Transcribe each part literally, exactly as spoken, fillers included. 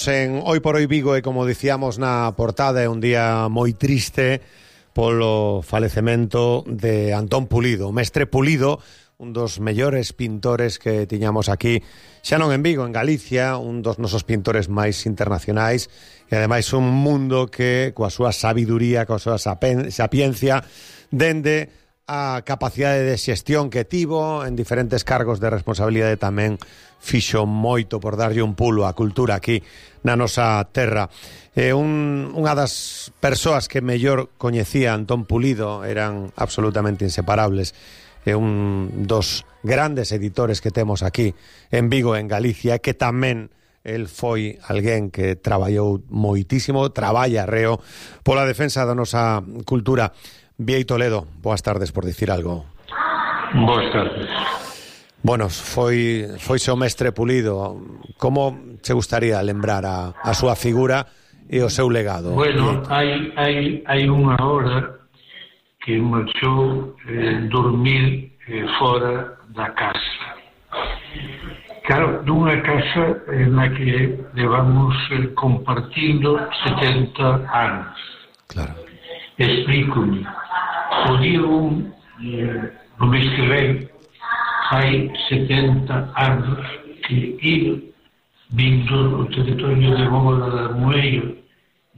En Hoy por Hoy Vigo e, como dicíamos na portada, é un día moi triste polo falecemento de Antón Pulido, o mestre Pulido, un dos mellores pintores que tiñamos aquí, xa non en Vigo, en Galicia, un dos nosos pintores máis internacionais e ademais un mundo que coa súa sabiduría, coa súa sapiencia, dende a capacidade de xestión que tivo en diferentes cargos de responsabilidade, tamén fixo moito por darlle un pulo á cultura aquí na nosa terra. Eh, un, unha das persoas que mellor coñecía Antón Pulido, eran absolutamente inseparables, é eh, un dos grandes editores que temos aquí en Vigo, en Galicia, que tamén el foi alguén que traballou moitísimo, traballa reo pola defensa da nosa cultura. Bieito Toledo, boas tardes, por dicir algo. Boas tardes. Bueno, foi foise o mestre Pulido. Como che gustaría lembrar a, a súa figura e o seu legado? Bueno, hai, hai, hai unha hora que marchou eh, dormir eh, fora da casa. Claro, dunha casa eh, na que levamos eh, compartindo setenta anos. Claro. Explíco-me. O día un, eh, no mês que vem, hai setenta anos que eu, vindo o territorio de Bóveda da Moeiro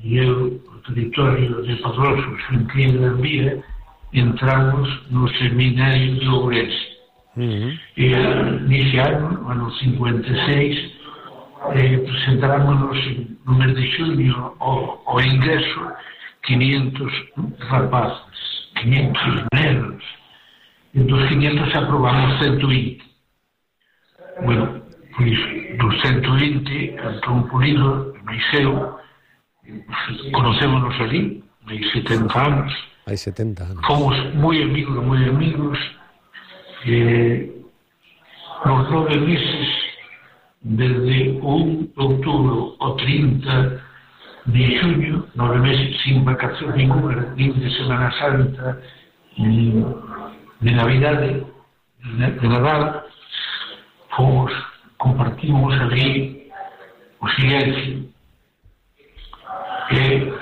e eu, o territorio de Padroso, Xunqueira da Vía, entramos no seminario de Ourense. Uh-huh. E nesse ano, ano cincuenta e seis, eh, presentámonos no mês de xunio ao, ao ingreso quinientos rapazes, quinientos negros, e dos quinientos aprobamos ciento veinte. Bueno, pois dos ciento veinte, Antón Pulido, máis eu, conocémonos ali, hai setenta anos. Hai setenta anos. Fomos moi amigos, moi amigos, e nos nove meses, desde o un de outubro ao trinta de xuño, nove meses sin vacacións ninguna, nin de Semana Santa, nin de Navidade, de Nadal, fomos, compartimos ali o silencio. E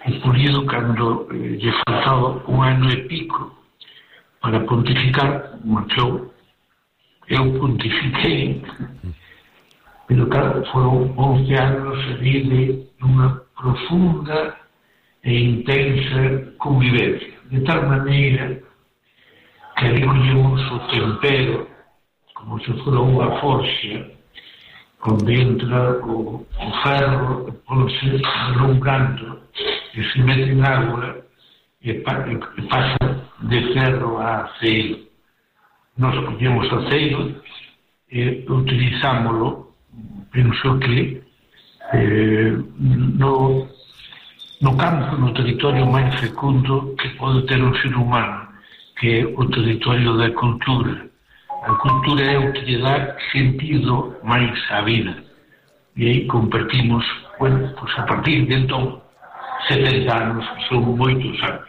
o Pulido, cando eh, lle faltaba un ano e pico para pontificar, marchou. Eu pontifiquei, pero claro, foron once anos ali de unha profunda e intensa convivencia, de tal maneira que ali collemos o tempero como se fora unha forxa, onde entra o, o ferro, ponse alongando e se mete en agua e, pa, e pasa de ferro a aceiro. Nos collemos aceiro e utilizámoslo, penso que eh, no, no campo, no territorio máis fecundo que pode ter un ser humano, que é o territorio da cultura. A cultura é o que lle dá sentido máis á vida. E aí compartimos, bueno, pues a partir de entón, setenta anos, son moitos anos.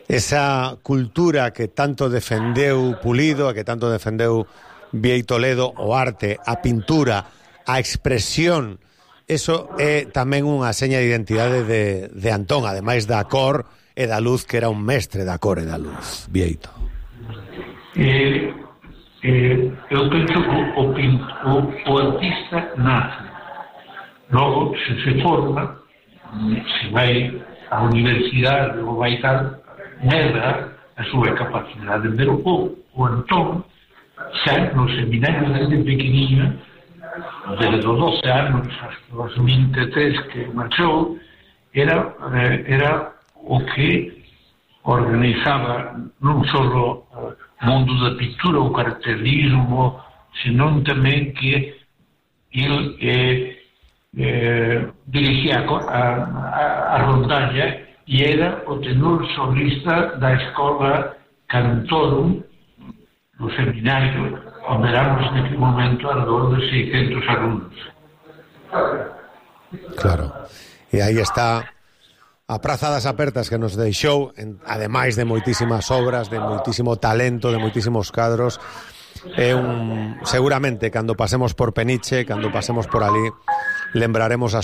Esa cultura que tanto defendeu Pulido, que tanto defendeu Bieito Toledo, o arte, a pintura, a expresión, eso é tamén unha seña de identidade de, de Antón, ademais da cor e da luz, que era un mestre da cor e da luz, Bieito. Eh, eh, eu penso que o, o, o artista nace, logo se se forma, se vai á universidade ou vai tal, medra a súa capacidade, pero o, o Antón xa no seminario desde pequeniño, desde os doce anos hasta os vinte e tres que marchou, era, era o que organizaba non só o mundo da pintura, o cartelismo, senón tamén que ele eh, eh, dirigía a, a, a rondalla e era o tenor solista da escola Cantorum do seminario, onde éramos naquele momento alrededor de seiscentos alumnos. Claro. E aí está a Praza das Apertas, que nos deixou, en, ademais de moitísimas obras, de moitísimo talento, de moitísimos cadros. É un, seguramente, cando pasemos por Peniche, cando pasemos por ali, lembraremos a